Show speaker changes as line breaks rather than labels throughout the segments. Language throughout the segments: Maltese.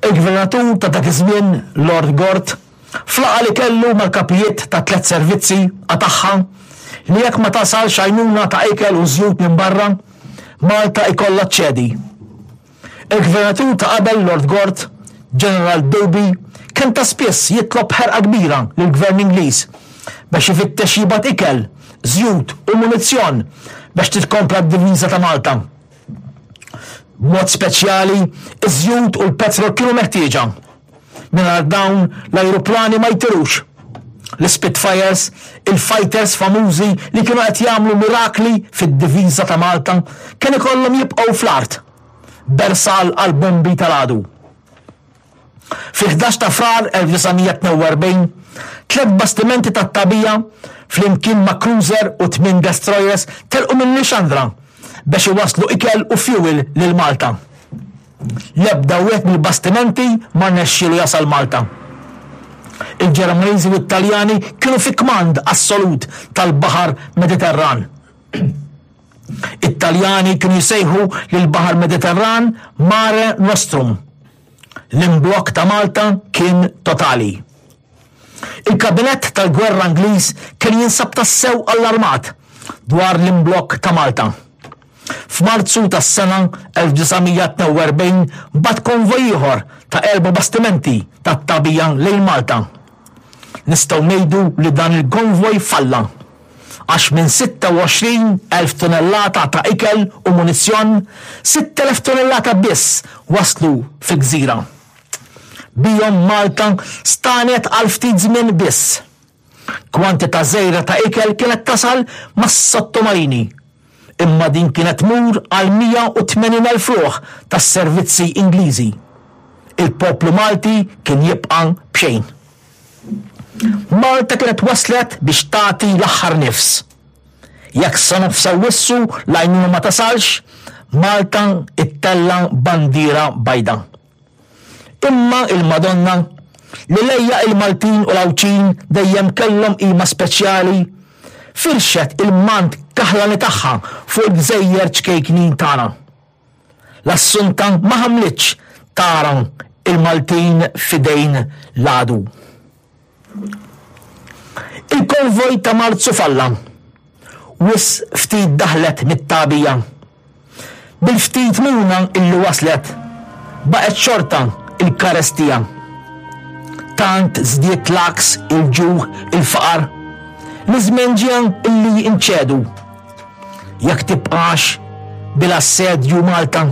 Il-Gvernatur ta' dak iż-żmien, Lord Gort, f'laqgħa li kellu mal-kapijiet tat-tlett servizzi qatagħha li jekk ma tasalx għajnuna ta' ikel u żjut minn barra, Malta ikollha ċċedi. Il-Gvernatur ta' qabel Lord Gort, Ġeneral Doby, kien ta' spiss jitlob b'ħerqa kbira lill-Gvern Ingliż biex ifittex jibgħat ikel, żjut u munizzjon biex titkompla d-diviża ta' Malta. B'mod speċjali, iż-żjut u l-petrol kienu meħtieġa. Mingħajr dawn l-ajruplani ma jtirux. L-Spitfires, il-fighters famużi li kienu qed jagħmlu mirakli fid-diviża ta' Malta, kien ikollhom jibqgħu fl-art, bersal għall-bombi tal-għadu. Fil-11 ta' Frar 1942, tlett bastimenti tat-tagħbija flimkien ma' cruiser u tmien destroyers telqu minn Lixandra biex iwasslu ikel u fjuwil lil Malta. L-ebda wieħed mill-bastimenti ma rnexxielu jasal Malta. Il-Ġermaniżi u t-Taljani kienu fi kmand assolut tal-Baħar Mediterran. It-Taljani kienu jsejħu lill-Baħar Mediterran Mare Nostrum. L-imblokk ta' Malta kien totali. Il-Kabinett tal-Gwerra Ingliż kien jinsab tassew allarmat dwar l-imblokk ta' Malta. F'Marzu tas-sena 1942 bagħat konvoj ieħor ta' erba' bastimenti tat-tagħbija lejn Malta. Nistgħu ngħidu li dan il-konvoj falla għax minn 26,000 tunellata ta' ikel u munizzjon, 6,000 tunellata biss waslu fil-gżira. Bihom Malta stagħnet għal ftit żmien biss. Kwantità żgħira ta' ikel kienet tasal mas-sottomarini, imma din kienet tmur għal 180,000 ruħ tas-servizzi Ingliżi. Il-poplu Malti kien jibqa' b'xejn. Malta kienet waslet biex tagħti l-aħħar nifs. Jekk sa nofs Awwissu l-għajnuna ma tasalx, Malta ittella' bandiera bajda. Imma il-Madonna, li lejha il-Maltin u l-Għawdxin dejjem kellhom qima speċjali, firxet il-mant kaħlani tagħha fuq il-gżejjer ċkejknin tagħna. L-Assunta ma ħamlitx tara il-Maltin f'idejn l-għadu. Il-konvoj ta' Marzu falla. Wisq ftit daħlet mit-tagħbija. Bil-ftit muna illi waslet, baqgħet xorta il-karestija. Tant żdied l-għaks, il-ġuħ, il-faqar, li żmien ġie illi nċedu. Jekk tibqax bil-assedju Malta,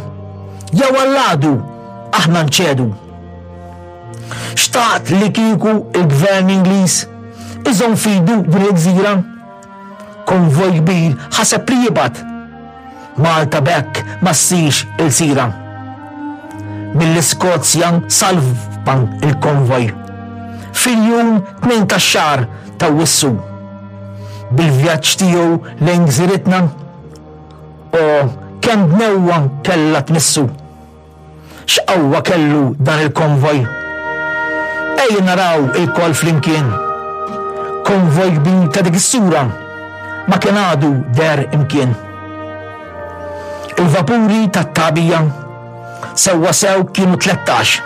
jew għall-għadu aħna nċedu. Xtaqt li kieku il-gvern Ingliż iżomm fidu din il-gżira. Konvoj kbir ħaseb li jibgħat. Malta b'hekk ma ssirx ilsira. Mill-Iskozja salva il-konvoj. Fil-jum 2 tax-xahar ta' Wissu. Bil-vjaġġ tiegħu lejn gżiritna, o kemm dnewwa kellha tmissu. X'qawwa kellu dan il-konvoj! Ejja naraw ilkoll flimkien. Konvoj kbir ta' dik is-sura ma kien għadu deher imkien. Il-vapuri tat-tagħbija sewwasew kienu 13.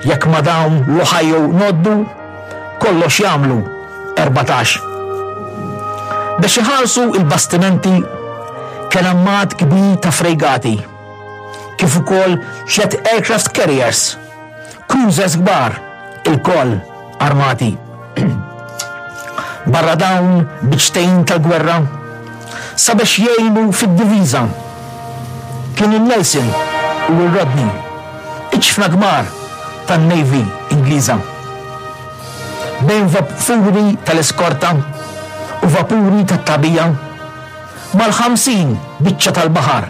Jekk ma' dawn l-Ohio ngħoddu, kollox jagħmlu 14. Biex iħarsu il-bastimenti kien hemm għadd kbir ta' frejgati, kif ukoll tliet aircraft carriers, cruisers kbar, ilkoll armati. Barra dawn biċċtejn tal-gwerra sabiex jgħinu fid-diviża kien in-Nelson u r-Rodney, iġfna kbar tan-Navy Ingliża. Bejn vapuri tal-iskorta u vapuri tat-tagħbija, mal-50 biċċa tal-baħar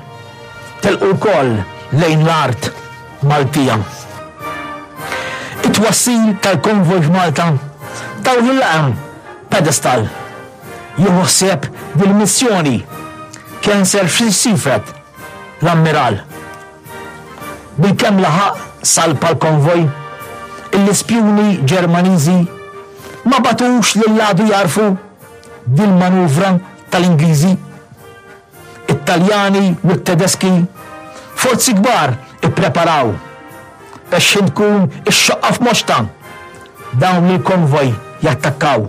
telqu wkoll lejn l-art Maltija. It-twassil tal-konvoj f'Malta taw lil-laqam pedestal. Jieħu ħsieb dil-missjoni kien Sir Seaford, l-Ammiral. Bilkemm laħaq salpa l-konvoj, l-ispjuni Ġermaniżi ma bagħtux lill-għadu jagħrfu dil-manuvra tal-Ingliżi. It-Taljani u t-Tedeski forzi kbar ippreparaw. Ta' x'ħin tkun ix-xoqqa f'moxtha, dawn lill-konvoj jattakkaw.